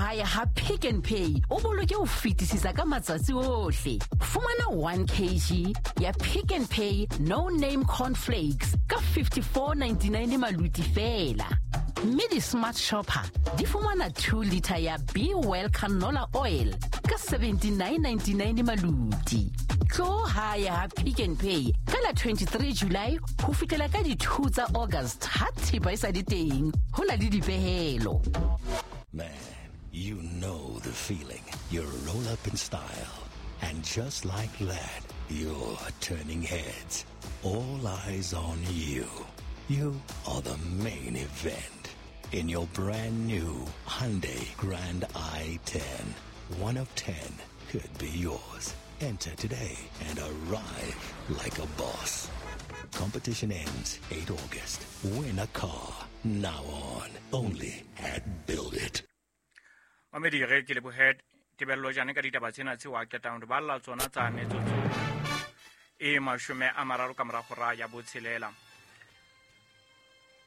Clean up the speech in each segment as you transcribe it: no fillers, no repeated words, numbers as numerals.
hae ha Pick n Pay o boloke ho fetisisa ka matsatsi ohle. Fumana 1 kg ya Pick n Pay No Name Cornflakes ka 54.99 maluti feela. Mme di-smart shopper di fumana 2 litre ya Be Well canola oil ka 79.99 maluti. Tlo hae ha Pick n Pay ka la 23 July ho fihlela ka di-2 tsa August ha thepa e sa le teng. Ho na le dipehelo. Man, you know the feeling. You roll up in style. And just like that, you're turning heads. All eyes on you. You are the main event. In your brand new Hyundai Grand i10. 1 of 10 could be yours. Enter today and arrive like a boss. Competition ends 8 August. Win a car. Now on. Only at Build It. Mamedi, ge ke lebohe Tebello Jane ka ditaba tsena tseo a qetang re balla tsona tsa metsotso e 30 ka morago ra ya botshelela.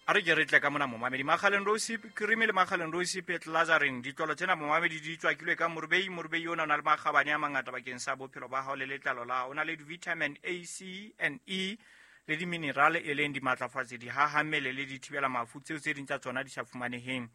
A re ke re tle ka mona momamedi. Makgaleng Rosip cream le Makgaleng Rosip Lazarine, ditlolo tsena momamedi di tswakilwe ka morubei. Morubei ona o na le makgabane a mangata bakeng sa bophelo ba hao le letlalo la hao. O na le di-vitamin A, C and E le di-mineral e leng dimatlafatsi, dihahammele le dithibela mafu tseo tse ding tsa tsona di sa fumaneheng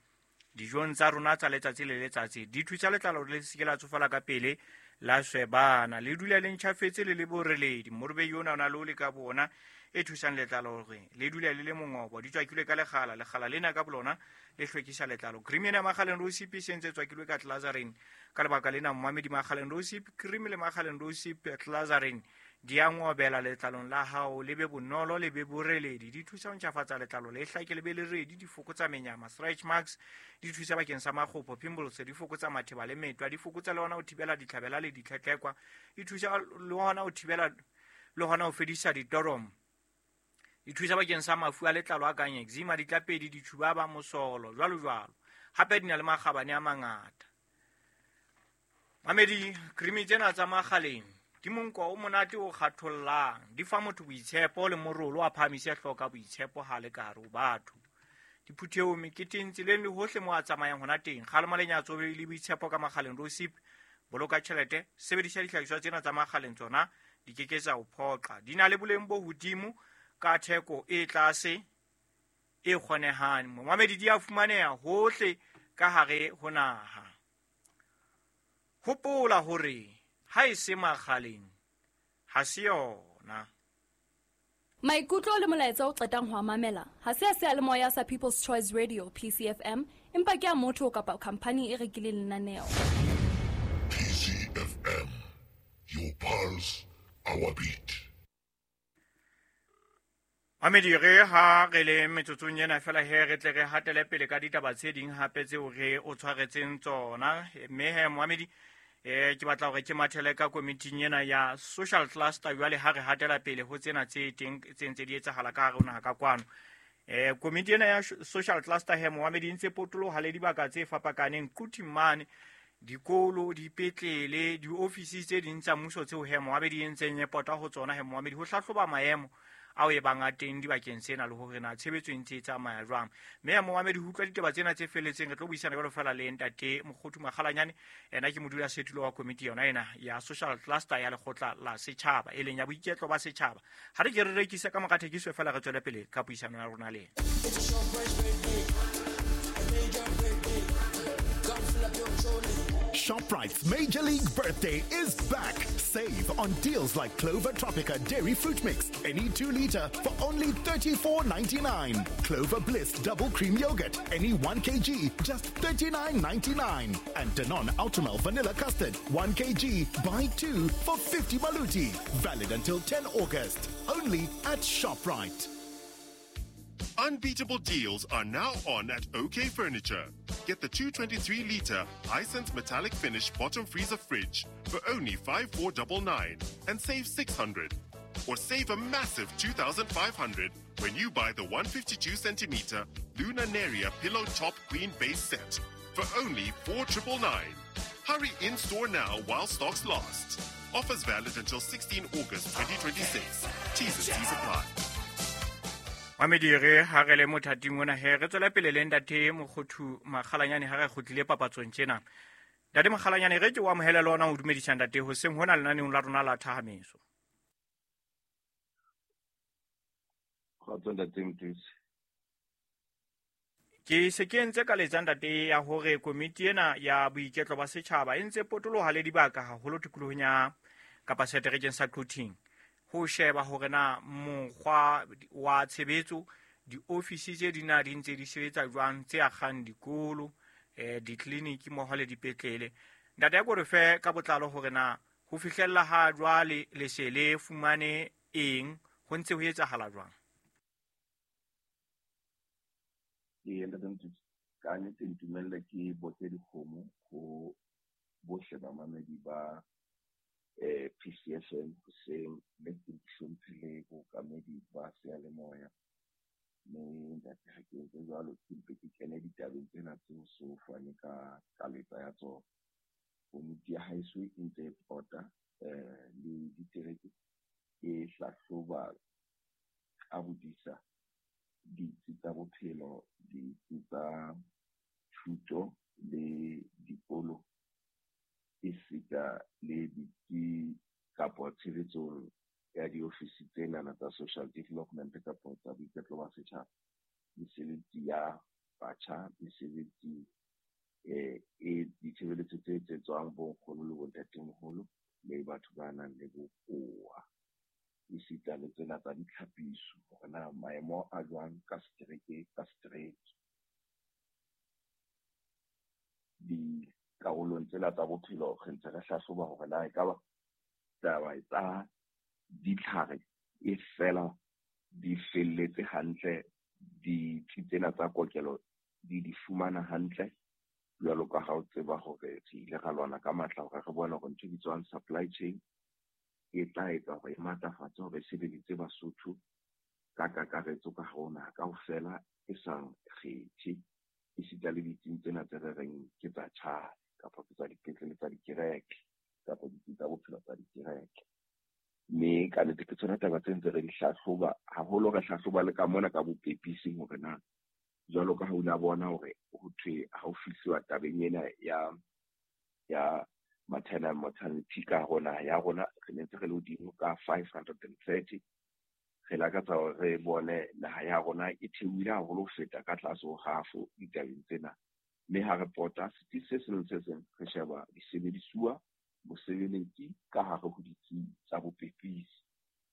dijong tsa rona tsa letsatsi le letsatsi. Di thusa letlalo le se ke la tsofala ka pele, la swebana, le dula le ntjhafetse le le boreledi. Morubei ona o na le o le ka bona e thusang letlalo hore le dule le le mongobo. Di tswakilwe ka lekgala, lekgala lena ka bolona le hlwekisa letlalo. Cream ena ya Makgaleng Rosip e sentse e tswakilwe ka Glazarine. Ka lebaka lena momamedi, Makgaleng Rosip cream le Makgaleng Rosip Glazarine di a ngobela letlalong la hao, le be bonolo, le be boreledi. Di thusa ho ntjhafatsa letlalo, le hlake le be le redi. Di fokotsa menyama, stretch marks, di thusa bakeng sa makgopo, pimples, di fokotsa matheba le metwa, di fokotsa le hona ho thibela ditlhabela le ditlhetlekwa, di thusa le hona ho thibela le hona ho fedisa ditoromo. Di thusa bakeng sa mafu a letlalo a kang eczema, ditlapedi, ditjhubaba, mosolo, jwalo jwalo. Hape di na le makgabane a mangata. Mamedi, cream tsena tsa Makgaleng di monko o monate o kgathollang, di fa motho boitshepo le morolo a phahamise hloka boitshepo ha le ka hare ho batho. Diphuthehong, meketeng, tseleng le hohle mo a tsamayang hona teng. Kgalema lenyatso le boitshepo ka Makgaleng Rosip. Boloka tjhelete, sebedisa dihlahiswa tsena tsa Makgaleng, tsona di ke ke tsa o phoqa. Di na le boleng bo hodimo ka theko e tlase e kgonehang. Momamedi, di a fumaneha hohle ka hare ho naha. Hopola hore ha e se Makgaleng ha se yona. Maikutlo le molaetsa o qetang ho a mamela ha se a seyalemoya sa People's Choice Radio PCFM, empa ke a motho kapa khampani e rekileng lenaneo. PCFM, your pulse, our beat. Mamedi, re ha re le metsotsong ena fela he re tle re hatele pele ka ditaba tse ding hape tseo re o tshwaretseng tsona. Mme he momamedi, ke batla hore ke mathele ka komiting ena ya social cluster jwale ha re hatela pele ho tsena tse teng tse ntse di etsahala ka hare ho naha ka kwano. Komiti ena ya social cluster he momamedi e ntse potoloha le dibaka tse fapakaneng, Quthing mane, dikolo, dipetlele, diofisi tse ding tsa mmuso tseo he momamedi e ntseng e pota ho tsona he momamedi ho hlahloba maemo ao e bang a teng dibakeng tsena le hore na tshebetso e ntse e tsamaya jwang. Mme ya momamedi ho utlwa ditaba tsena tse felletseng re tlo buisana jwalo fela le ntate Mokgothu Makgalanyane, ena ke modulasetulo wa komiti yona ena ya social cluster ya lekgotla la setjhaba e leng ya boiketlo ba setjhaba. Ha re ke re rekise ka mora thekiso fela re tswele pele ka puisano ya rona le yena. ShopRite's Major League Birthday is back. Save on deals like Clover Tropica Dairy Fruit Mix, any 2 liter for only $34.99. Clover Bliss Double Cream Yogurt, any 1 kg, just $39.99. And Danone Ultramel Vanilla Custard, 1 kg, buy 2 for 50 maluti. Valid until 10 August. Only at ShopRite. Unbeatable deals are now on at OK Furniture. Get the 223-litre Hisense metallic finish bottom freezer fridge for only $5,499 and save $600. Or save a massive $2,500 when you buy the 152-centimeter Luna Neria pillow top queen base set for only $4,999. Hurry in-store now while stocks last. Offers valid until 16 August 2026. T's and C's apply. Mamedi re ha re le mothating ona he re tswela pele le ntate Mokgothu Makgalanyane ha re kgutlile papatsong tjena. Ntate Makgalanyane, re ke o amohele le ona o dumedisa ntate hoseng hona lenaneong la rona la Thahameso. Kgotso ntate Mothusi. Ke se ke entse ka letsa ntate ya hore komiti ena ya boiketlo ba setjhaba e ntse potoloha le dibaka haholo tikolohong ya kapa seterekeng sa Quthing ho sheba hore na mokgwa wa tshebetso diofisi tse di na di ntse di sebetsa jwang tse akgang dikolo, ditleliniki mmoho le dipetlele. Ntate, ya ko re fe ka botlalo hore na ho fihlella ha jwale le se le fumane eng, ho ntse ho etsahala jwang? Ee, ntate Mothusi, ka nnete ntumelle ke boke dikgomo ho bohle bamamedi ba PCFM hoseng, mme ke hlomphe le bookamedi ba seyalemoya. Mme ntate, ha ke entse jwalo, ke mpe ke kene ditabeng tsena tseo so fane ka kaletsa ya tsona. Komiti ya haeso e ntse e pota le ditereke, e hlahloba ka bodisa ditsi tsa bophelo, ditsi tsa thuto le dikolo, esita le ditsi kapa tshebetsong ya diofisi tsenana tsa social development kapa tsa boiketlo ba setjhaba, mesebetsi ya batjha, mesebetsi e ditshebeletso tse etsetswang bonkgono le bontatemoholo le batho ba nang le bokowa, esita le tsena tsa ditlhapiso hore na maemo a jwang ka setereke ka setereke. Dikarolong tsena tsa bophelo re ntse re hlahloba hore na ekaba taba tsa ditlhare e fela di felletse hantle, ditsi tsena tsa kokelo di di fumana hantle, jwalo ka ha o tseba hore re ile ra lwana ka matla hore re bone hore ntho e bitswang supply chain e tla etsa hore e matlafatse hore e sebeditse Basotho ka kakaretso ka hare ho naha kaofela, e sa kgethe, esita le ditsing tsena tse re reng ke tsa tjhai kapa ke tsa dipetlele tsa dikereke kapa ditsi tsa bophelo tsa dikereke. Mme ka nnete ke tsona taba tse ntse re di hlahloba haholo, re hlahloba le ka mona ka bopepising hore na jwalo ka ha o la bona hore ho thwe ha o fihluwa tabeng ena ya maternal mortality ka hare ho naha ya rona, re ne ntse re le hodimo ka 530. Re lakatsa hore re bone naha ya rona e theohile haholo ho feta ka tlase ho half ditabeng tsena. Mme ha re pota setsi se seng le se seng, re sheba disebedisuwa, mosebeletsi ka hare ho ditsi tsa bopepisi.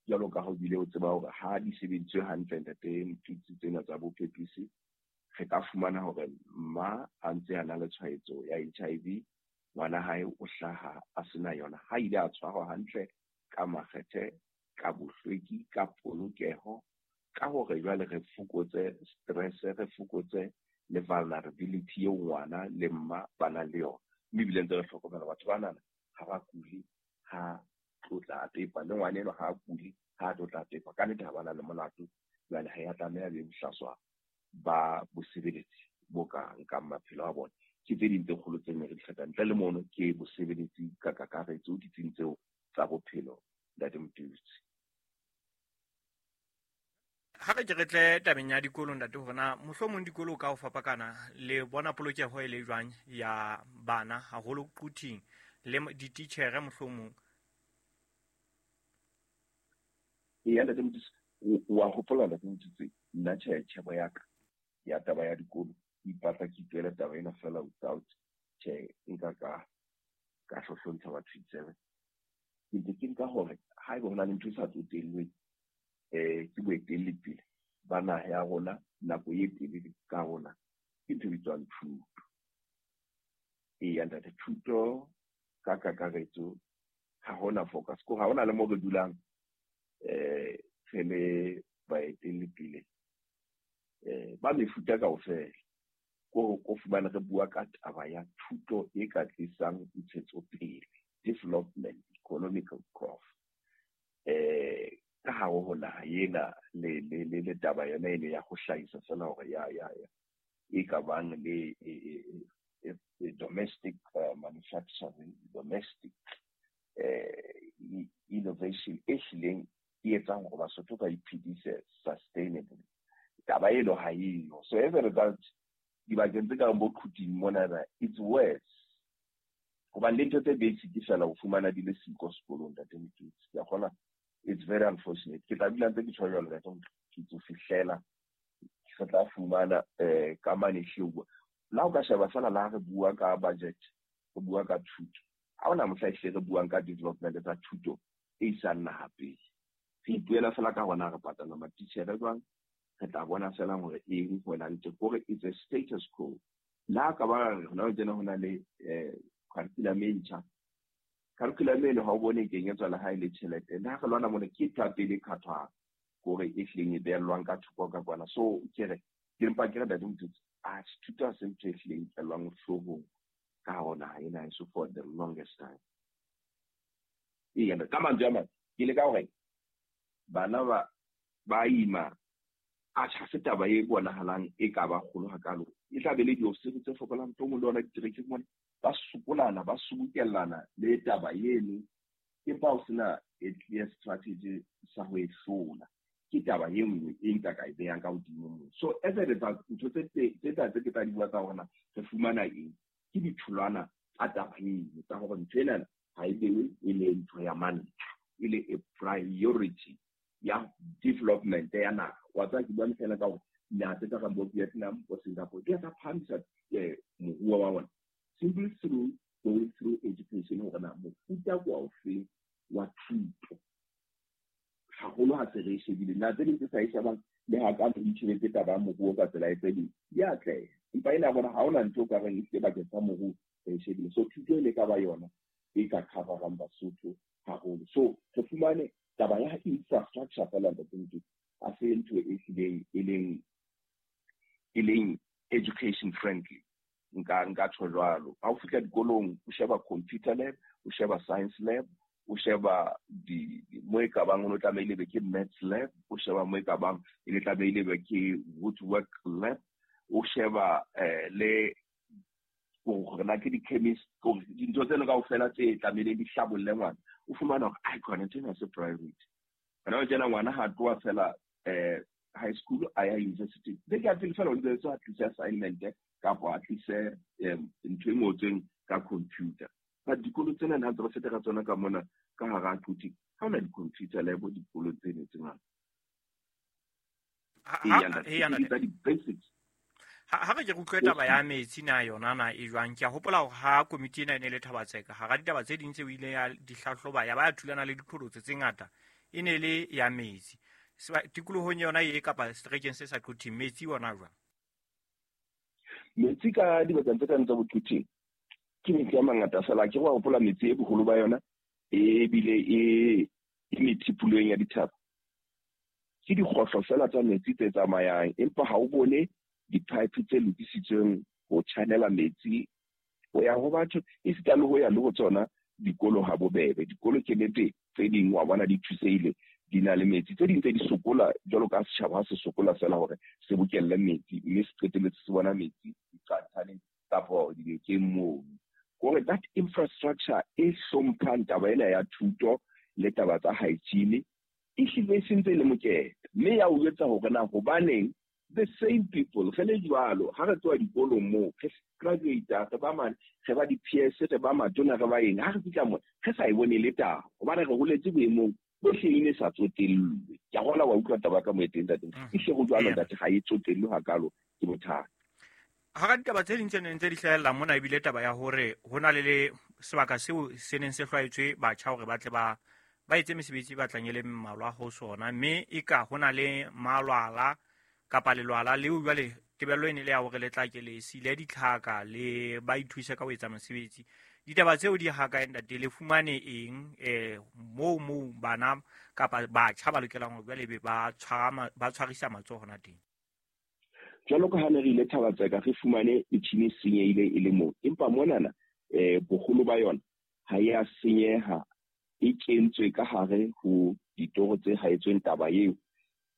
Jwalo ka ha o bile o tseba hore ha di sebediswe hantle ntate Motutsi tsena tsa bopepisi, re ka fumana hore mma a ntse a na le tshwaetso ya HIV, ngwana hae o hlaha a sena yona. Ha ile a tshwarwa hantle ka makgethe, ka bohlweki, ka polokeho, ka hore jwale re fokotse stress, re fokotse le vulnerability eo ngwana le mma ba nang le yona. Mme ebile ntse re hlokomela batho banana ha ba kule ha tlotla a pepa, le ngwana enwa ha a kule ha tlotla a pepa. Ka nnete ha ba na le molato, jwale ha ya tlameha be bohlaswa ba bosebeletsi bo ka nkang maphelo a bona. Ke tse ding tse kgolo tse ne re di hlokang. Ntle le mono ke bosebeletsi ka kakaretso ditsing tseo tsa bophelo, ntate Motutsi. Ha re ke re tle tabeng ya dikolo ntate, hore na mohlomong dikolo ka ho fapakana le bona polokeho e le jwang ya bana haholo Quthing le dititjhere mohlomong? Eya ntate Motutsi, wa hopola ntate Motutsi, nna tjhe tjhebo ya ka ya taba ya dikolo ke ipatla ke ipuela taba ena fela without tjhe nka ka hlohlontsha batho ditsebe. Ke ntse ke nka hore haeba ho na le ntho e sa tsotellweng ke boetelli pele ba naha ya rona nako e telele ka rona, ke ntho e bitswang thuto. Eya ntate, thuto ka kakaretso ha hona focus, ko ha hona le mo re dulang re le baetelli pele ba mefuta kaofela, ko fumane re bua ka taba ya thuto e ka tlisang ntshetsopele, development, economical growth ka hare ho naha ena, le taba yona ene ya ho hlahisa fela hore ya e ka bang le domestic manufacturing, domestic innovation e hlileng e etsang hore Basotho ba iphedise sustainably. Taba eno ha eyo. So as a result, dibakeng tse kang bo Quthing mona, it's worse. Hobane le ntho tse basic fela o fumana di le siko sekolong, Ntate Motutsi. Ke a kgona, it's very unfortunate. Ke tla dula ntse ke tjho jwalo, Ntate Motutsi, ho fihlela re tla fumana ka mane hleuwa. La o ka sheba fela la re bua ka budget, re bua ka thuto. Ha hona mohla ehlile re buang ka development tsa thuto e isang naha pele. Re ipuela fela ka hona re patala matitjhere jwang, re tla bona fela hore eng hona ntse kore it's a status quo. La ka ba re hona tjena hona le curriculum e ntjha. Curriculum eno ha o bone e kenyetswa le ha e le tjhelete. Le ha re lwana mona ke ntho ya pele e khathwang hore e hlileng e behellwang ka thoko ka kwana. So ke re ke mpa ke re Ntate Motutsi, a thuto ha se ntho e hlileng e nkellwang hloohong ka hare ho naha ena heso for the longest time. Eya, ka mantswe a mang ke leka hore bana ba ima atjha ha se taba e bonahalang e ka ba kgolo hakalo. E tla be le diofisiri tse fokolang, mohlomong le hona diterekeng mona ba sokolana, ba sobokellana le taba eno, empa ho sena a clear strategy sa ho e hlola. Ke taba e nngwe e nka ka e behang ka hodimo moo. So as a result, ntho tse tse tse ke tla di bua tsa hore re fumana eng, ke ditholwana tsa taba eno tsa hore ntho ena ha e bewe e le ntho ya mantlha, e le a priority ya development ya naha. Wa tseba ke bua fela ka hore naha tse ka bo Vietnam, bo Singapore, di a tsa phahamisa moruo wa bona simply through going through education, hore na mofuta ke wa ofeng wa thuto. Haholo ha se re e shebile, naha tse ding tse sa e shebang le ha ka di tjhelete taba ya moruo ka tsela e tse ding di atleha, empa ena bona ha hona ntho o ka reng ehlile bakeng sa moruo re e shebile. So thuto e le ka ba yona e ka coverang Basotho haholo. So re fumane taba ya infrastructure fela, Ntate Motutsi, ha se ntho e hlileng e leng education friendly. Nka tjho jwalo. Ha o fihla dikolong, o sheba computer lab, o sheba science lab, o sheba di mo e ka bang o tlamehile be ke maths lab, o sheba mo e ka bang e le tlamehile be ke woodwork lab, o sheba le hore na ke di-chemist, dintho tseno kaofela tse tlamehileng di hlabolle ngwana. O fumana hore ai khona ntho ena se priority. Hona tjena ngwana ha tloha fela high school a ya university, beke ya pele fela o ntse a tlise assignment kapa a tlise ntho e ngotsweng ka computer. But dikolo tsena ha ntse re feta ka tsona ka mona ka hara Quthing, ha hona di-computer lab dikolo tseno tse ngata. Tsa di-basics. Ha re ke re utlwe taba ya metsi na yona na e jwang. Ke a hopola hore ha komiti ena e ne le Thaba-Tseka, hara ditaba tse ding tseo ile ya di hlahloba ya ba ya thulana le diqholotso tse ngata, e ne le ya metsi. Tikolohong yona e kapa seterekeng se sa Quthing, metsi ona jwang? Metsi ka dibakeng tse kang tsa bo Quthing ke metsi a mangata fela. Ke wa hopola metsi e boholo ba yona ebile e methipolong ya dithaba. Ke dikgohlo fela tsa metsi tse tsamayang, empa ha o bone di-pipe tse lokisitsweng ho channela metsi ho ya ho batho, esita le ho ya le ho tsona dikolo ha bobebe. Dikolo ke nnete tse ding wa bona di thusehile, di na le metsi, tse ding tse di sokola jwalo ka setjhaba ha se sokola fela hore se bokelle metsi, mme se qetelletse se bona metsi diqathaneng kapa dinokeng moo. Kore that infrastructure e hlomphang taba ena ya thuto le taba tsa hygiene e hlile e sentse e le mokete, mme ya o jwetsa hore na hobaneng the same people re le jwalo ha re tloha dikolong moo re graduate, re ba mane, re ba di-PS, re ba matona, re ba eng, ha re fihla moo re sa e bone le taba, hobane re holetse boemong bo hleng e sa tsotellwe. Ke a kgolwa wa utlwa taba ka mo e teng, ntate. E hle ho jwalo, ntate, ha e tsotellwe hakalo, ke bothata. Hara ditaba tse ding tse neng tse di hlahella mona ebile taba ya hore ho na le sebaka seo se neng se hlwaetswe batjha hore ba tle ba etse mesebetsi e batlang e le mmalwa ho sona, mme e ka ho na le malwala kapa lelwala leo jwale tebello e ne le ya hore le tla ke le sile ditlhaka le ba ithuse ka ho etsa mosebetsi. Ditaba tseo di ha kae, ntate? Le fumane eng moo bana kapa batjha ba lokelang hore jwale be ba tshwarisa matsoho hona teng? Jwalo ka ha ne re ile Thaba-Tseka, re fumane metjhini e senyehile e le moo, empa monana boholo ba yona ha e a senyeha, e kentswe ka hare ho ditoro tse haetsweng taba eo.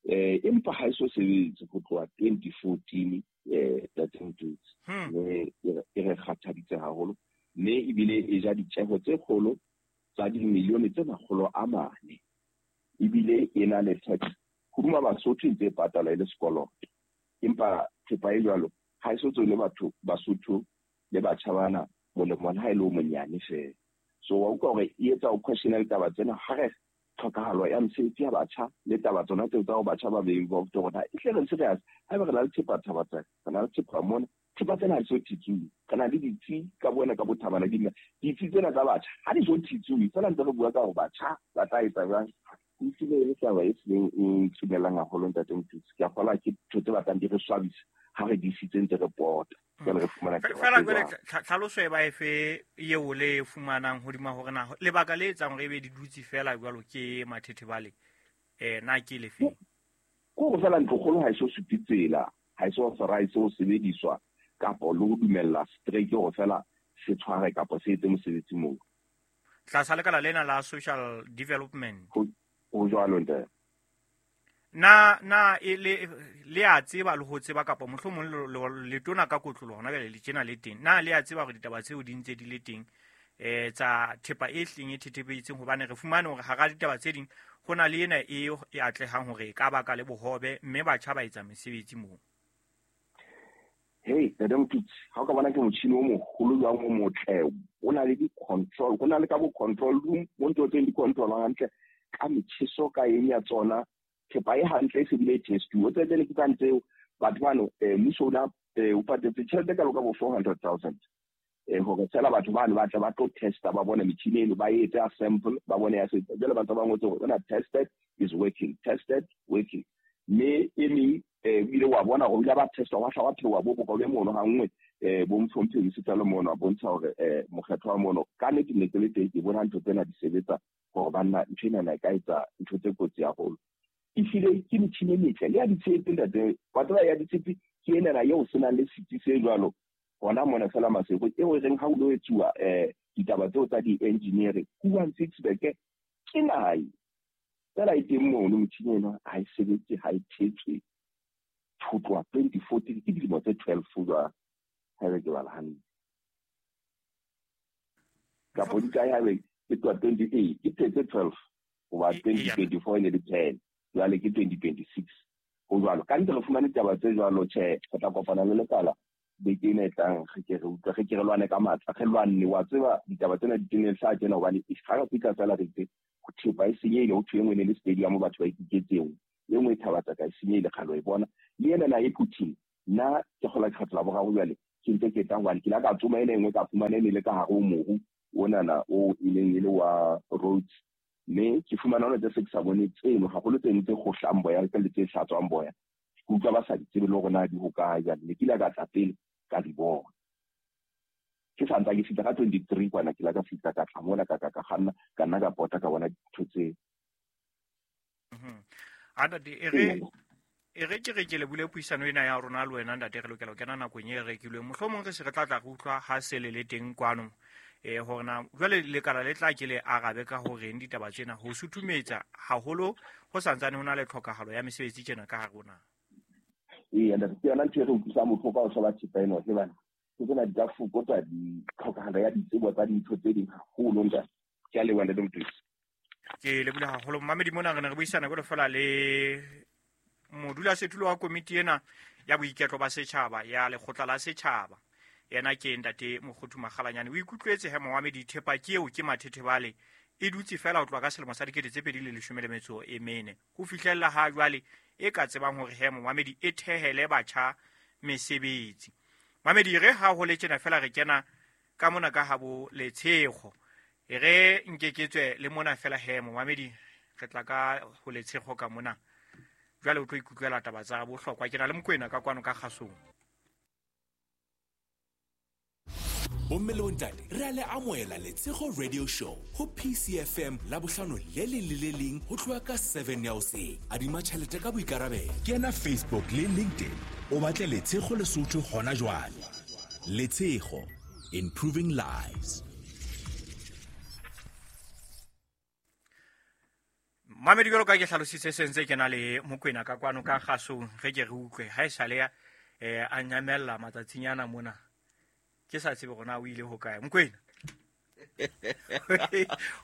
Empa ha e so sebetse ho tloha 2014, Ntate Motutsi. Mme e re kgathaditse haholo, mme ebile e ja ditjeho tse kgolo tsa dimilione tse 400, ebile e na le tax hodima Basotho e ntse e patala e le sekoloto. Empa thepa e jwalo ha e so tswele batho Basotho le batjha bana molemo le ha e le o monyane fela. So wa utlwa hore e etsa o questionele taba tsena ha re tlhokahalo ya mosebetsi ya batjha le taba tsona tseo tsa ho batjha ba be involved hore e hle re serious. Haeba re na le thepa Thabatsaka, re na le thepa mona, thepa tsena ha di so thitsuwe. Re na le ditsi ka bona ka bothabana di ditsi tsena tsa batjha ha di so thitsuwe. Fela ntse re bua ka hore batjha ba tla etsa jwang. E hlile e le taba e hlileng e ntshumelang haholo ntate Mothusi. Ke a kgolwa ke ntho tse batlang di re swabisa ha re di isitse ntse re pota. Jwale re fumana taba Fela tse jwale jwalo. Tlhaloso e ba efe eo le e fumanang hodima hore na lebaka le etsang hore ebe di dutse fela jwalo ke mathethebale, na ke lefe? Ke hore fela ntlokgolo ha e so supe tsela, ha e so authorize ho sebediswa kapo le ho dumella strike hore fela se tshware kapo se etse mosebetsi moo. Tlasa lekala lena la social development. Ho jwalo ntate. Na e le a tseba le ho tseba kapa mohlomong letona ka kotloloho hona jwale le tjena le teng. Na le a tseba hore ditaba tseo di ntse di le teng, tsa thepa e hleng e thethebetseng, hobane re fumane hore hara ditaba tse ding ho na le ena e atlehang hore e ka baka le bohobe mme batjha ba etsa mesebetsi moo. Hey, Ntate Mothusi, ha o ka bona ke motjhini o moholo jwang o motle, o na le di-control, ho na le ka bo control room, mo ntho tseng di control-ang hantle ka metjheso ka eng ya tsona, thepa e hantle e se bile e test-uwe. O tsebe le ke tsa tseo, batho bano, mmuso o na, o patetse tjhelete ka loka bo 400,000. Hore fela batho bano ba tle ba tlo testa, ba bone metjhini eno, ba etse a sample, ba bone ya se. Jwale ba ntse ba ngotse hore ona tested is working, tested working. Mme e meng, o ile wa bona hore o ile ba testa, wa hla wa theoha bo boka o be mono ha nngwe, bo mhlomphehisi Setsalo mono, a bontsha hore, mokgetho wa mono. Ka nnete ne ke le teng, ke bona ntho tsena di sebetsa hore banna ntho ena e ka etsa ntho tse kotsi haholo. Ehlile ke metjhini e metle, le ya ditshepe ntate, wa tseba ya ditshepe ke enana eo se nang le setsi se jwalo hona mona fela Maseko, eo e reng ha o lo etsuwa, ditaba tseo tsa di-engineering, Huan Sixburg, ke naha e. Fela e teng mono metjhini ena ha e sebetse, ha e thetswe. Ho tloha 2014, ke dilemo tse 12 jwale, haebe ke bala hantle. Kapo di kae haebe ke tloha 28, ke tse 12, hoba 2024 e ne le 10, jwale ke 2026. Ho jwalo. Ka nnete re fumane taba tse jwalo, tjhe, re tla kopana le lekala beke ena e tlang, re ke re utlwe, re ke re lwane ka matla, re lwanne. Wa tseba ditaba tsena di tene hlaha tjena hobane ha re fihla fela re itse, ho thepa e senyehile, ho thwe e nngwe e ne le stadium batho ba ikiketseng, e nngwe e Thabatsaka e senyehile, kgale o e bona. Le ena na e Putin, nna ke kgola lekgetlo la boraro jwale, ke ntse ke tla hobane ke la ka tsoma ena e nngwe ka fumana e ne le ka hare ho moru onana o e neng e le wa Rhodes. Mme ke fumana hona tse se ke sa bone tseno, haholo tseno tse kgohlang boya le tse hlatswang boya. Ke utlwa ba sa di tsebe le hore na di hokae jwale. Ne ke ile ka tla pele ka di bona. Ke sa ntsa ke fihla ka 23 kwana, ke la ka fihla ka tla mona ka ka ka kganna, ka nna ka pota ka bona dintho tseo. A ntate, e re ke re ke lebule puisano ena ya rona le wena ntate, re lokela ho kena nakong e rekilweng. Mohlomong re se re tla tla re utlwa ha se le le teng kwano. Hore na jwale lekala le tla ke le arabe ka horeng ditaba tsena ho suthumetsa haholo ho santsane ho na le tlhokahalo ya mesebetsi tjena ka hare ho naha. Ee, ntate, ke yona ntho e re utlwisang bohloko ka ho sheba thepa ena, ke bana. Ke tsena di ka fokotsa ditlhokahalo ya ditsebo tsa dintho tse ding haholo, ntate. Ke a leboha, ntate Mothusi. Ke lebohile haholo. Mmamedi mona re ne re buisana jwalo fela le modulasetulo wa komiti ena ya boiketlo ba setjhaba ya lekgotla la setjhaba. Yena ke ntate Mokgothu Makgalanyane. O ikutlwetse he momamedi, thepa ke eo ke mathethebale e dutse fela ho tloha ka selemo sa dikete tse pedi le leshome le metso e mene ho fihlella ha jwale e ka tsebang hore he momamedi e thehele batjha mesebetsi. Mamedi, re ha ho le tjena fela re kena ka mona ka habo Letshego. E re nke ke tswe le mona fela he momamedi, re tla ka ho Letshego ka mona. Jwale o tlo ikutlwela taba tsa bohlokwa. Ke na le Mokoena ka kwano ka kgasong. Bomme le bontate, re a le amohela Letshego Radio Show ho PCFM la bohlano le leng le le leng ho tloha ka 7 ya hoseng. Adima tjhelete ka boikarabelo. Kena Facebook le LinkedIn, o batle Letshego Lesotho hona jwale. Letshego, improving lives. Mamedi, jwalo ka ke hlalositse se ntse ke na le Mokoena ka kwano ka kgasong, re ke re utlwe ha e sale ya, a nyamella matsatsing ana mona. Ke sa tsebe hore na o ile hokae. Mokoena.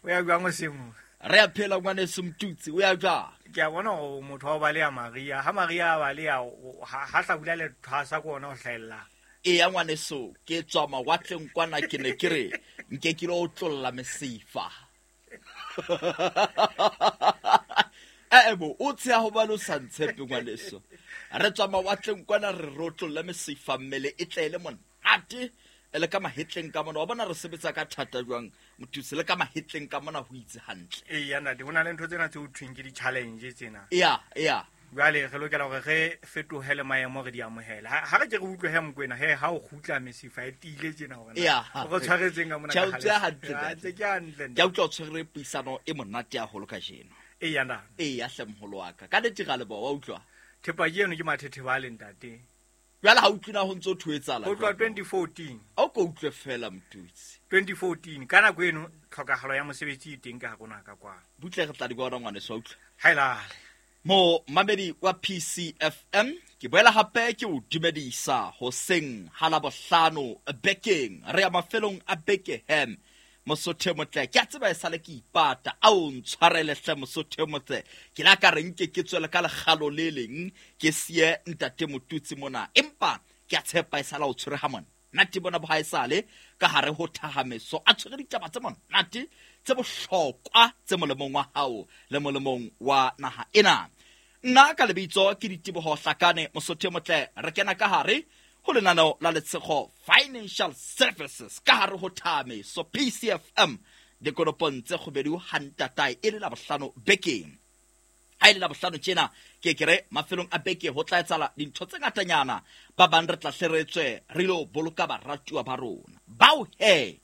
O ya jwang hoseng ho? Re a phela ngwaneso Motutsi, o ya jwang? Ke a bona hore motho wa ho baleha mariha. Ha mariha a baleha, ha hlabula le thwasa ke ona o hlahellang. Eya ngwaneso, ke tswa mawatleng kwana, ke ne ke re nke ke lo otlolla mesifa. Bo, o tsheha hobane o sa ntshepe ngwaneso. Re tswa mawatleng kwana re rotlolle mesifa, mmele e tle e le monate, e le ka mahetleng ka mona. Wa bona re sebetsa ka thata jwang Motutsi, le ka mahetleng ka mona ho itse hantle. Eya ntate, ho na le ntho tsena tse ho thweng ke di-challenge tsena. Eya, eya. Jwale re lokela hore re fetohe le maemo re di amohele. Ha re ke re utlwe he Mokoena, he ha o kgutla mesifa e tiile tjena hore na Eya. o re tshwaretseng ka mona Tjhe, ka o tswe hale. hantle, Ha, ntate. ntse ke hantle, ntate. Ke a utlwa o tshwere puisano e monate haholo kajeno. Eya, ntate. Eya, hle moholo wa ka. Ka nnete ra leboha, wa utlwa? Thepa ke eno ke mathetheba a le ntate. Jwale ha utlwe na ho ntso ho etsahala Ho tloha jwang? 2014. Ha o ko utlwe fela Motutsi. 2014, ka nako eno tlhokahalo ya mosebetsi e teng ka hare ho naha ka kwano. Butle re tla di bona ngwaneso, wa utlwa? Ha e lale. Mo mamedi wa PCFM, ke boela hape ke o dumedisa hoseng ha Labohlano bekeng. Re ya mafelong a beke hem. Mosotho e motle, ke a tseba esale ke ipata, a o ntshwarele hle Mosotho e motle. Ke la ka re nke ke tswele ka lekgalo le leng, ke siye ntate Motutsi mona. Empa ke a tshepa esale o tshwere ha monate bona bo haesale ka hare ho thahameso. A tshwere ditaba tse monate, tse bohlokwa, tse molemong wa hao le molemong wa naha ena. Nna ka lebitso ke Diteboho Hlakane Mosotho e motle, re kena ka hare ho lenaneo la Letshego Financial Services ka hare ho Thahameso PCFM dikonopong tse kgubedu ha ntatae e le Labohlano bekeng. Ha e le Labohlano tjena, ke ke re mafelong a beke ho tla etsahala dintho tse ngatanyana. Ba bang re tla hle re tswe re ilo boloka baratuwa ba rona. Bao he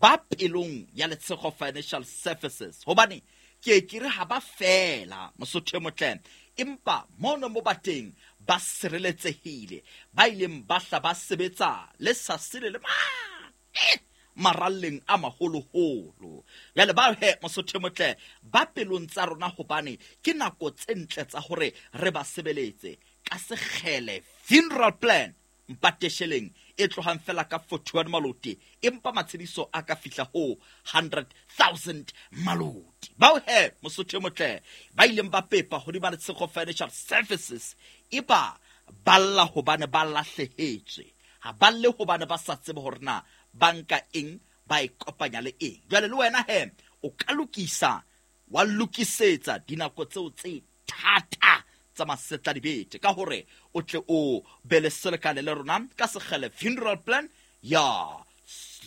ba pelong ya Letshego Financial Services, hobane ke ke re ha ba fela Mosotho e motle, empa mono mo ba teng ba sireletsehile, ba ileng ba hla ba sebetsa le sa sele le mane maralleng a maholoholo. Jwale ba he Mosotho e motle ba pelong tsa rona, hobane ke nako tse ntle tsa hore re ba sebeletse ka sekgele funeral plan mpatesheleng e tlohang fela ka 41 maloti, empa matshediso a ka fihla ho 100,000 maloti. Bao he Mosotho e motle ba ileng ba pepa hodima Letshego Financial Services, e ba balla hobane ba lahlehetswe, ha ba lle hobane ba sa tsebe hore na ba nka eng, ba e kopanya le eng. Jwale le wena he o ka lokisa, wa lokisetsa dinako tseo tse thata tsa masetla dibete ka hore o tle o be le selekane le rona ka sekgele funeral plan ya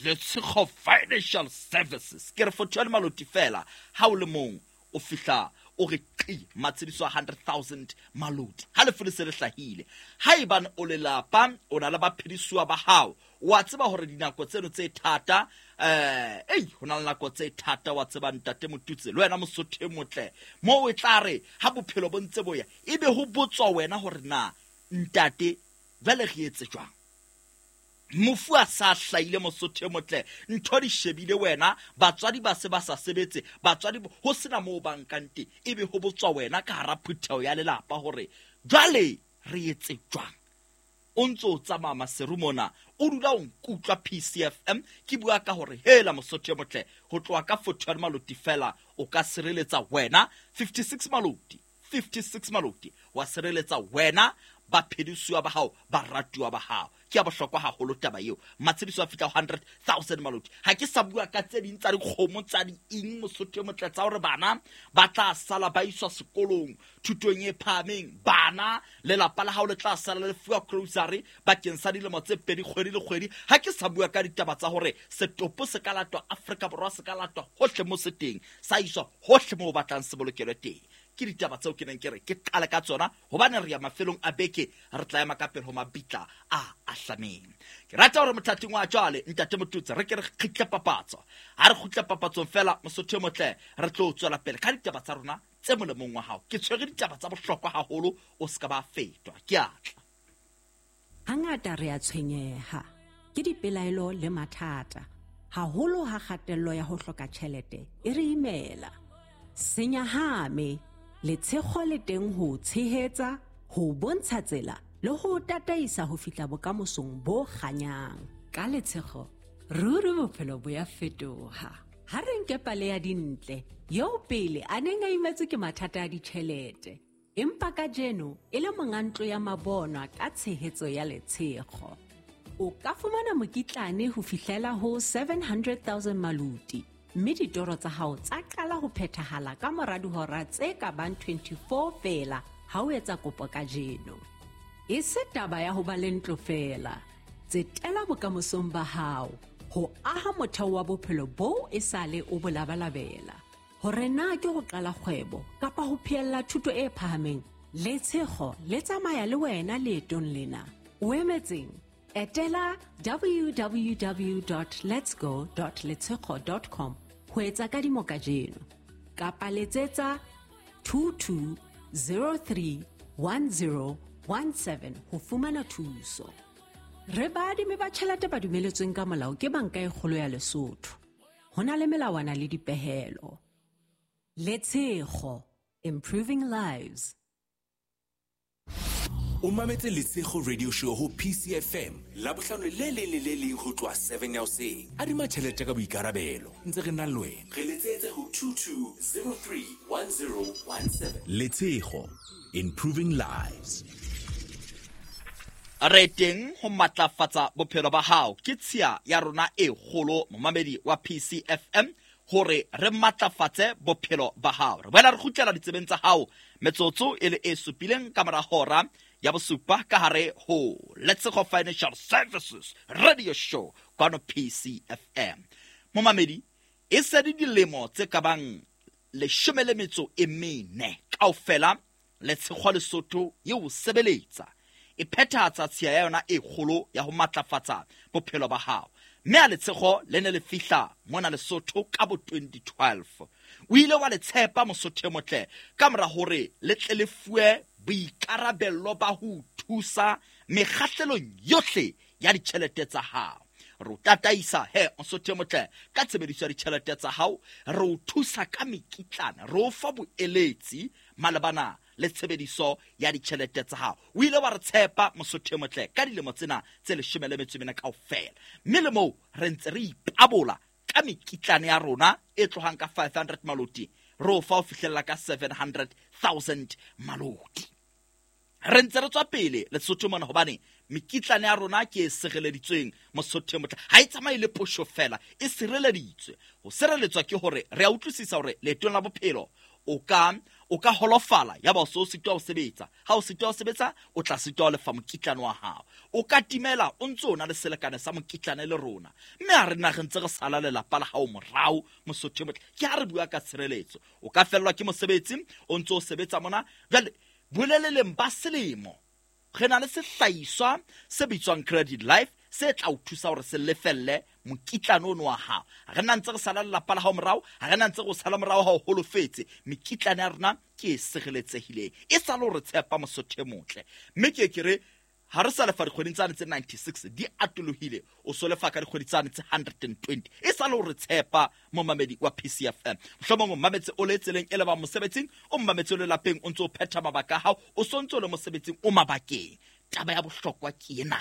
Letshego Financial Services. Ke re 41 maloti fela, ha o le mong o fihla o re qi matshediso a 100,000 maloti ha lefu le se le hlahile. Haebane o lelapa, o na le baphedisuwa ba hao, wa tseba hore dinako tseno tse thata, ei, ho na le nako tse thata, wa tseba ntate Motutsi, le wena Mosotho e motle, moo e tla re ha bophelo bo ntse bo ya, ebe ho botswa wena hore na ntate jwale re etse jwang. Mofu a sa hlahile Mosotho e motle, ntho di shebile wena, batswadi ba se ba sa sebetse, batswadi ho sena moo ba nkang teng, ebe ho botswa wena ka hara phutheho ya lelapa hore jwale re etse jwang. O ntso o tsamaya maseru mona, o dula o nkutlwa PCFM ke bua ka hore hela Mosotho e motle, ho tloha ka 41 maloti fela o ka sireletsa wena 56 maloti, 56 maloti wa sireletsa wena, baphedisuwa ba hao, baratuwa ba hao. Ke ya bohlokwa haholo taba eo. Matshediso a fihla ho 100,000 maloti. Ha ke sa bua ka tse ding tsa dikgomo tsa di eng Mosotho e motle, tsa hore bana ba tla sala ba iswa sekolong thutong e phahameng, bana lelapa la hao le tla sala le fuwa grocery bakeng sa dilemo tse pedi kgwedi le kgwedi. Ha ke sa bua ka ditaba tsa hore setopo se ka latwa Afrika Borwa, se ka latwa hohle mo se teng, sa iswa hohle moo o batlang se bolokelwe teng. Ke ditaba tseo ke neng ke re ke qale ka tsona, hobane re ya mafelong a beke, re tla ema ka pele ho mabitla a ahlameng. Ke rata hore mothating wa jwale ntate Motutsi re ke re kgitle papatso. Ha re kgutle papatsong fela Mosotho e motle, re tlo tswela pele ka ditaba tsa rona tse molemong wa hao. Ke tshwere ditaba tsa bohlokwa haholo, o se ka ba fetwa. Ke a tla. Hangata re a tshwenyeha ke dipelaelo le mathata, haholo ha kgatello ya ho hloka tjhelete e re imela. Senyahame, Letshego le teng ho o tshehetsa, ho o bontsha tsela le ho o tataisa ho fihla bokamosong bo kganyang. Ka Letshego, ruri bophelo bo ya fetoha. Ha re nke pale ya Dintle, eo pele a neng a imetswe ke mathata a ditjhelete, empa kajeno e le monga ntlo ya mabonwa ka tshehetso ya Letshego. O ka fumana mokitlane ho fihlela ho 700,000 maluti, mme ditoro tsa hao tsa qala ho phethahala ka mora dihora tse ka bang 24 feela ha o etsa kopo kajeno. E se taba ya ho ba le ntlo feela, tsetela bokamosong ba hao ho aha motheo wa bophelo boo e sale o bo labalabela. Hore na ke ho qala kgwebo kapa ho phehella thuto e phahameng, Letshego le tsamaya le wena leetong lena. O emetseng? Etela www.letsgo.letshego.com ho etsa kadimo kajeno, kapa letsetsa 22031017 ho fumana thuso. Re baadimi ba tjhelete ba dumeletsweng ka molao ke Banka e Kgolo ya Lesotho. Ho na le melawana le dipehelo. Letshego, improving lives. O mametse Letshego Radio Show ho PCFM Labohlano le leng le le leng ho tloha 7 ya hoseng. Adima tjhelete ka boikarabelo, ntse re na le wena. Re letsetse ho 22031017. Letshego, improving lives. Re teng ho matlafatsa bophelo ba hao ke tshiya ya rona e kgolo, momamedi wa PCFM, hore re matlafatse bophelo ba hao. Re boela re kgutlela ditsebeng tsa hao metsotso e le e supileng ka mora hora ya bosupa ka hare ho Letshego Financial Services Radio Show kwano PCFM. Momamedi, e se di dilemo tse ka bang 14 kaofela Letshego Lesotho eo sebeletsa e phethahatsa tshiya ya yona e kgolo ya ho matlafatsa bophelo ba hao. Mme a Letshego le ne le fihla mona Lesotho ka bo 2012. O ile wa le tshepa Mosotho e motle ka mora hore le tle le fuwe boikarabello ba ho thusa mekgahlelong yohle ya ditjhelete tsa hao. Re o tataisa he Mosotho e motle ka tshebediso ya ditjhelete tsa hao, re o thusa ka mekitlana, re o fa boeletsi malebana le tshebediso ya ditjhelete tsa hao. O ile wa re tshepa Mosotho e motle ka dilemo tsena tse 14 kaofela. Mme le moo re ntse re ipabola ka mekitlane ya rona e tlohang ka 500 maloti, re o fa ho fihlella ka 700,000 maloti. Re ntse re tswa pele Lesotho mona hobane mekitlane ya rona ke e sireleditsweng Mosotho e motle. Ha e tsamaye le posho fela, e sireleditswe. Ho sireletswa ke hore re a utlwisisa hore leetong la bophelo o ka holofala ya ba o so sitwa ho sebetsa. Ha o sitwa ho sebetsa, o tla sitwa ho lefa mokitlane wa hao. O ka timela o ntso o na le selekane sa mokitlane le rona. Mme ha re na re ntse re sala lelapa la hao morao Mosotho e motle. Ke ha re bua ka tshireletso. O ka fellwa ke mosebetsi o ntso o sebetsa mona. Jwale boleleleng ba selemo re na le sehlahiswa se bitswang Credit Life se tla o thusa hore se lefelle mokitlane ono wa hao. Ha re na ntse re sala lelapa la hao morao, ha re na ntse re o sala morao ha o holofetse. Mekitlane ya rona ke e sireletsehileng, e sa le hore tshepa Mosotho e motle. Mme ke re ha re sa lefa dikgweding tsane tse 96 di atolohile, o so lefa ka dikgwedi tsane tse 120. E sa le hore tshepa momamedi wa PCFM. Mohlomong o mametse o le tseleng e lebang mosebetsing, o mametse o le lapeng o ntse o phetha mabaka a hao, o so ntse o le mosebetsing o mabakeng. Taba ya bohlokwa ke ena.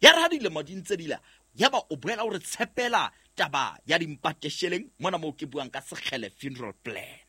Ya re ha dilemo di ntse di la, yaba o boela o re tshepela taba ya dimpatesheleng mona moo ke buang ka Sekgele funeral plan.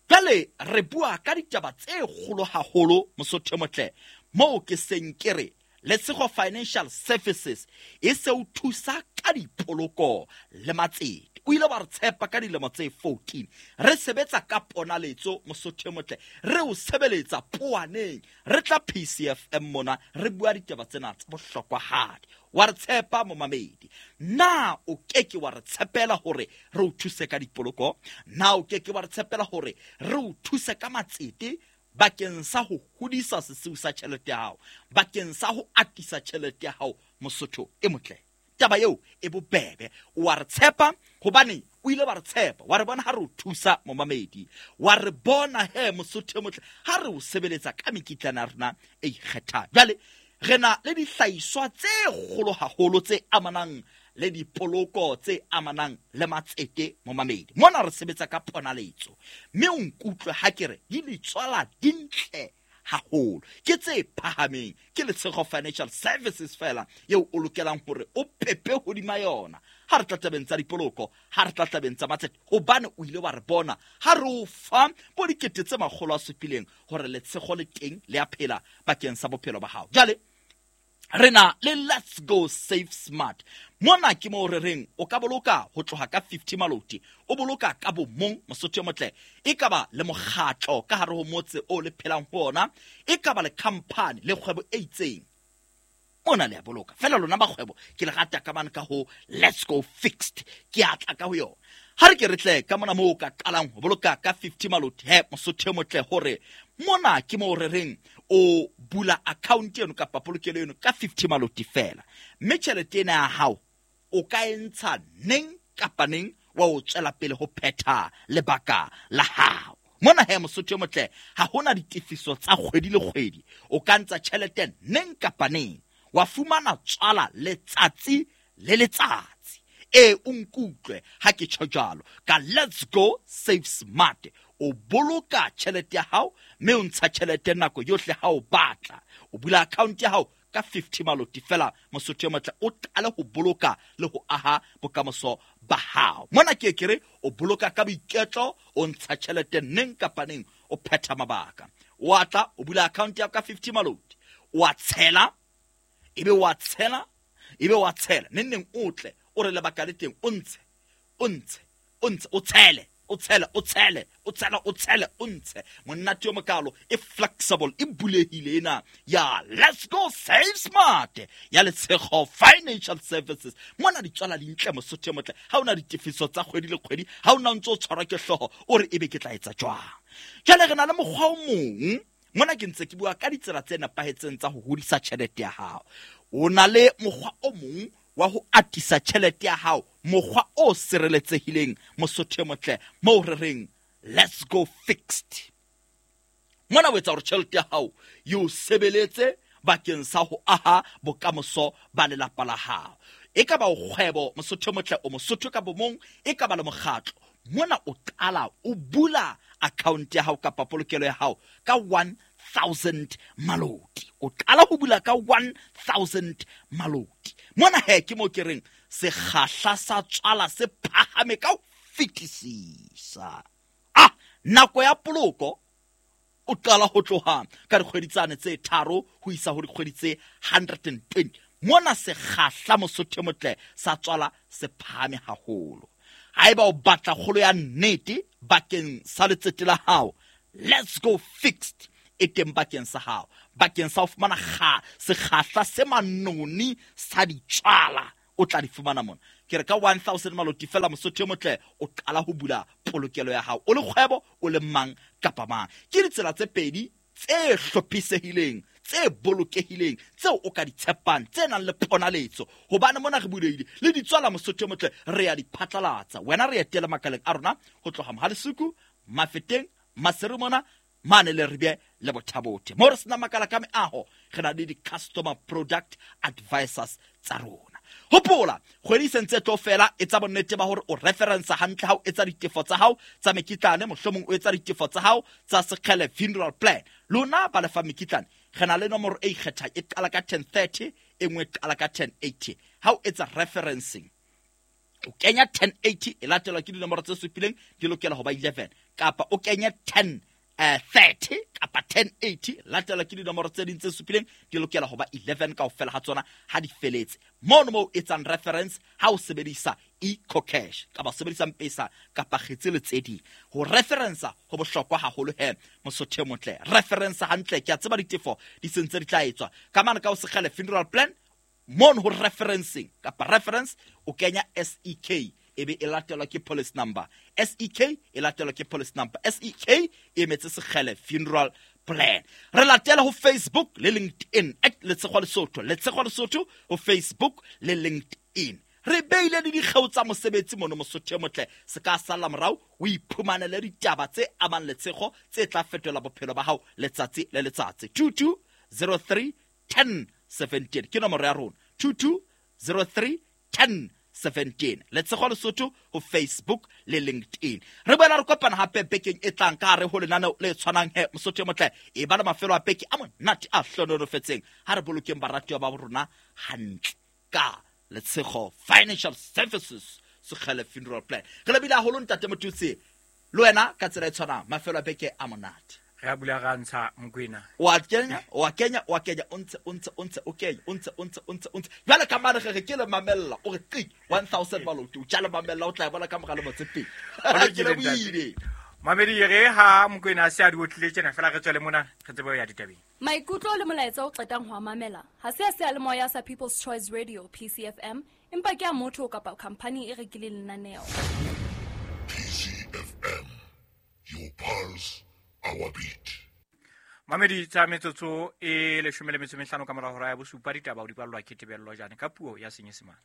Jwale re bua ka ditaba tse kgolo haholo Mosotho e motle, moo ke seng ke re Letshego Financial Services e se o thusa ka dipoloko le matsete. O ile wa re tshepa ka dilemo tse 14. Re sebetsa ka ponaletso Mosotho e motle, re o sebeletsa poaneng, re tla PCFM mona re bua ditaba tsena tsa bohlokwahadi. Wa re tshepa momamedi. Na o keke wa re tshepela hore re o thuse ka dipoloko? Na o keke wa re tshepela hore re o thuse ka matsete bakeng sa ho hodisa sesiu sa tjhelete ya hao, bakeng sa ho atisa tjhelete ya hao Mosotho e motle? Taba eo e bobebe. Wa re tshepa hobane o ile wa re tshepa, wa re bona ha re o thusa momamedi, wa re bona he Mosotho e motle ha re o sebeletsa ka mekitlana ya rona e ikgethang. Jwale re na le dihlahiswa tse kgolo haholo tse amanang le dipoloko, tse amanang le matsete momamedi. Mona re sebetsa ka ponaletso, mme o nkutlwe ha ke re di letswala dintle haholo, ke tse phahameng. Ke Letshego Financial Services fela eo o lokelang hore o pepe hodima yona ha re tla tabeng tsa dipoloko, ha re tla tabeng tsa matsete, hobane o ile wa re bona ha re o fa bo 700 hore Letshego le teng le a phela bakeng sa bophelo ba hao. Jwale re na le Let's Go Save Smart. Mona ke mo re reng o ka boloka ho tloha ka 50 maloti, o boloka ka bomong Mosotho e motle, e ka ba le mokgatlo ka hare ho motse o le phelang ho ona, e ka ba le company le kgwebo e itseng. Mona le a boloka fela lona ba kgwebo, ke le rata ka mane ka ho Let's Go Fixed, ke a tla ka ho yona. Ha re ke re tle ka mona moo ka qalang ho boloka ka 50 maloti he Mosotho e motle, hore mona ke mo re reng o bula account eno kapa polokelo eno ka 50 maloti fela, mme tjhelete ena ya hao o ka e ntsha neng kapa neng wa o tswela pele ho phetha lebaka la hao. Mona he Mosotho e motle, ha hona ditefiso tsa kgwedi le kgwedi, o ka ntsha tjhelete neng kapa neng wa fumana tswala letsatsi le letsatsi. E o nkutlwe ha ke tjho jwalo ka Let's Go Save Smart, o boloka tjhelete ya hao mme o ntsha tjhelete nako yohle ha o batla. O bula account ya hao ka 50 maloti fela Mosotho e motle, o qale ho boloka le ho aha bokamoso ba hao. Mona ke ke re o boloka ka boiketlo, o ntsha tjhelete neng kapa neng, o phetha mabaka. O atla o bula account ya ka 50 maloti, o a tshela, ebe wa tshela, ebe wa tshela, neng neng o tle o re lebaka le teng, o ntshe, o ntshe, o ntshe, o tshele, o tshele, o tshele, o tshele, o tshele, o ntshe. Monate yo mokalo, e flexible, e bulehile ena ya Let's Go Save Smart ya Letshego Financial Services. Mona ditswala di ntle Mosotho e motle, ha ona ditefiso tsa kgwedi le kgwedi, ha ona ntse o tshwarwa ke hlooho o re ebe ke tla etsa jwang. Jwale re na le mokgwa o mong mona, ke ntse ke bua ka ditsela tse nepahetseng tsa ho hodisa tjhelete ya hao. O na le mokgwa o mong wa ho atisa tjhelete ya hao, mokgwa o sireletsehileng Mosotho e motle, moo re reng Let's Go Fixed. Mona o etsa hore tjhelete ya hao e o sebeletse bakeng sa ho aha bokamoso ba lelapa la hao. E ka ba o kgwebo Mosotho e motle, o Mosotho ka bomong, e ka ba le mokgatlo. Mona o qala o bula account ya hao kapa polokelo ya hao ka 1000 maloti. O qala ho bula ka 1000 maloti. Mona he ke mo ke reng sekgahla sa tswala se phahame ka ho fetisisa. Nako ya poloko o qala ho tloha ka dikgwedi tsane tse 3 ho isa ho dikgwedi tse 120. Mona sekgahla Mosotho e motle sa tswala se phahame haholo. Haeba o batla kgolo ya nnete bakeng sa letsete la hao, Let's Go Fixed e teng bakeng sa hao, bakeng sa ho fumana sekgahla se manoni sa ditswala o tla di fumana mona. Ke re ka 1000 maloti fela Mosotho e motle, o qala ho bula polokelo ya hao, o le kgwebo, o le mang kapa mang. Ke ditsela tse pedi tse hlophisehileng, tse bolokehileng, tseo o ka di tshepang, tse nang le ponaletso, hobane mona re bulehile le ditswala Mosotho e motle, re ya di phatlalatsa. Wena re etele makaleng a rona ho tloha Mohalesuku, Mafeteng, Maseru mona, mane le Ribye le Bothabothe. Mo re sena makala ka meaho, re na le di-customer product advisors tsa rona. Hopola, kgwedi se ntse tlo fela, etsa bonnete ba hore o reference hantle ha o etsa ditefo tsa hao tsa mekitlane, mohlomong o etsa ditefo tsa hao tsa Sekgele funeral plan. Lona ba lefa mekitlane, re na le nomoro e ikgethang, e qala ka 1030, e nngwe e qala ka 1080. Ha o etsa referencing, o kenya 1080 e latelwa ke dinomoro tse supileng, di lokela ho ba 11, kapa o kenya 1030 kapa 1080 latelwa ke dinomoro tse ding tse supileng, di lokela ho ba 11 kaofela ha tsona ha di feletse. Mono moo etsang reference ha o sebedisa EcoCash kapa sebedisa M-Pesa kapa kgetse le tse ding. Ho referensa ho bohlokwa haholo he Mosotho e motle. Referensa hantle, ke a tseba ditefo di sentse di tla etswa. Ka mane ka ho Sekgele funeral plan, mono ho referencing kapa reference o kenya SEK, ebe e latelwa ke policy number. SEK e latelwa ke policy number. SEK e emetse Sekgele funeral plan. Re latela ho Facebook le LinkedIn at Letshego Lesotho, Letshego Lesotho ho Facebook le LinkedIn. Re beile le dikgeo tsa mosebetsi mono Mosotho e motle, se ka sala morao o iphumanele ditaba tse amang Letshego tse tla fetola bophelo ba hao letsatsi le letsatsi. 2203 10 17 ke nomoro ya rona. 2203 10 17. Letshego Lesotho ho Facebook le LinkedIn. Re boela re kopana hape bekeng e tlang ka hare ho lenaneo le tshwanang he Mosotho e motle. E ba le mafelo a beke a monate a hlohonolofetseng. Ha re bolokeng baratuwa ba rona hantle ka Letshego Financial Services Sekgele Funeral Plan. Re lebile haholo ntate Motutsi, le wena ka tsela e tshwanang mafelo a beke a monate. Re a bula ra ntsha Mokwena. Wa kenya, wa kenya, wa kenya, o ntse, o ntse, o ntse, o kenya, o ntse, o ntse, o ntse, o ntse. Jwale ka mane re re ke le mamella, o re qi, 1000 maloti, o tja le mamella, o tla e bona ka mora lemo tse pedi. Ho lokile, Ke lebohile. ntate. Mamedi re ha Mokwena a se a di otlile tjena fela re tswele mona re tsebe ho ya ditabeng. Maikutlo le molaetsa o qetang ho a mamela ha se a seyalemoya sa People's Choice Radio PCFM, empa ke a motho kapa khamphani e rekileng lenaneo. PCFM, your pulse, our beat. Mamedi tsa metsotso e 15 ka mora hora ya bosupa, ditaba o di ballwa ke Tebello Jane ka puo ya Senyesemane.